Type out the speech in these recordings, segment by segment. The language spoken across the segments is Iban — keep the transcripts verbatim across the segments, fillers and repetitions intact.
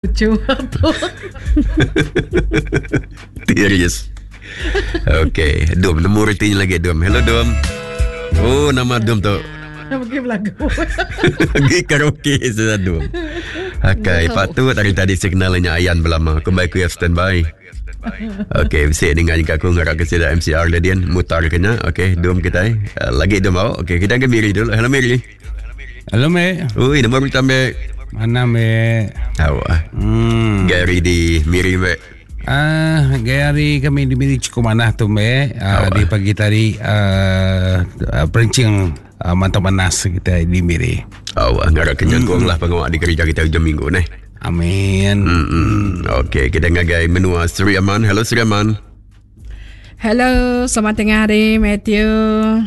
Lucu tu. Serius. Okey, Dum nemu retinya lagi Dum. Hello Dum. Oh, nama Dum tu. Pergi belagu. Pergi karaoke sudah Dum. Okey, patut hari tadi signalnya ayan belama. Aku baik aku standby. Okey, mesti dengar juga aku ngarap ke sida M C R Ladian mutar kena. Okey, Dum kita. Uh, lagi Dum mau. Okey, kita ke Miri dulu. Hello Miri. Hello Mei. Ui, nama berita Mei. Mana Mei? Awak. Hmm. Gary di Miri Mei. Ah, Gary kami di Miri cukup manah tu Mei. Ah, di pagi tadi uh, perencing uh, mantap panas kita di Miri. Awak ngarap kenyangkung lah pengawak di kerja kita hujung minggu ni. Amin. Hmm. Okey, kita ngagai menua Sri Aman. Hello Sri Aman. Hello, selamat tengah hari Matthew.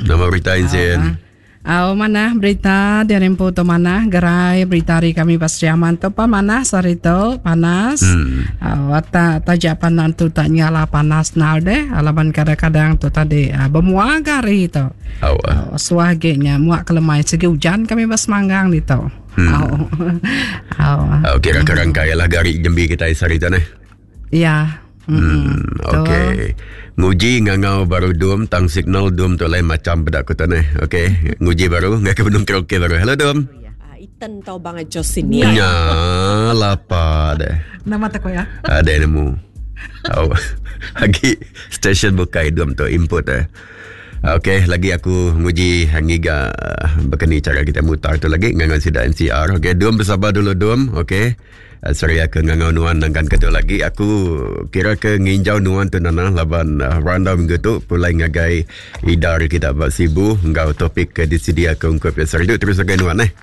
Nama berita Insin. Aw, mana berita dari rempu tu mana gerai berita hari kami pas Sri Aman tu pa mana sehari tu panas. Hmm. Aw, tak tajak panan tu tak nyala panas nal deh. Alaban kadang-kadang tu tadi uh, bermuak hari tu. Aw, uh, suah genya muak kelemai segi hujan kami pas manggang ni tu. Hmm. Aw. Aw. Okey, rangka-rangka ialah gari jembi kita sehari tu neh. Ya. Hmm, okey. Nguji ngangau baru dum tang signal dum tu lain macam bedak ku tu neh. Okey, nguji baru ngai ke benung karaoke baru. Hello dum. Iten tau bang Josin ni. Nya lapa deh. Nama tak ya. Ada nemu. Oh. Lagi stesen bukai dum tu input eh. Okey, lagi aku nguji ngiga berkeni cara kita mutar tu lagi ngangau sida M C R. Okey, dum bersabar dulu dum. Okey. Sorry aku ngangau nuan nangkan ketu lagi. Aku kira ke nginjau nuan tu nana laban uh, randau minggu tu pulai ngagai idar kita buat sibu ngau topik ke disedia ke ungkup ya. Sorry tu terus ngagai nuan eh.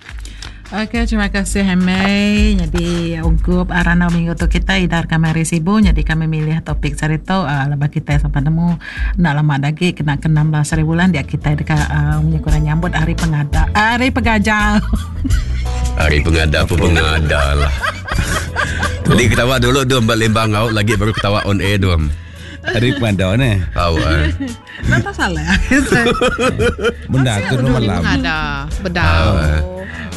Okey, terima kasih Hemei. Jadi ungkup randau minggu tu kita idar kami hari sibu. Jadi kami milih topik cerita uh, lepas kita sampai nemu nak lama lagi kena ke enam belas hari bulan dia kita dekat uh, kurang nyambut hari pengada hari pengajar. Hari pengada apa pengada lah. Jadi ketawa dulu dum lembang au lagi baru ketawa on air dum. Hari pengada ni. Tahu eh. Napa salah. Benda tu malam. Pengada, bedau.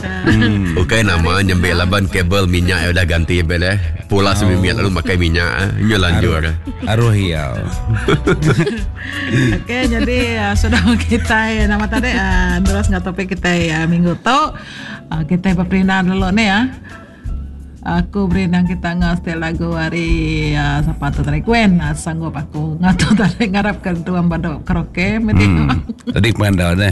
Hmm. Okey nama nyembel laban kabel minyak yang dah ganti bel eh. Pula oh. Minyak lalu pakai minyak eh. Nya lanjur. Aruh ya. Okey, jadi uh, sudah kita nama tadi uh, terus ngah topik kita uh, minggu tu. Uh, kita berperindaan dulu ni ya. Aku berindang kita ngasih lagu hari uh, siapa tu tadi Gwen uh, sanggup aku ngatu tadi ngarapkan tuan badok karaoke. Hmm. Tadi pengada ni.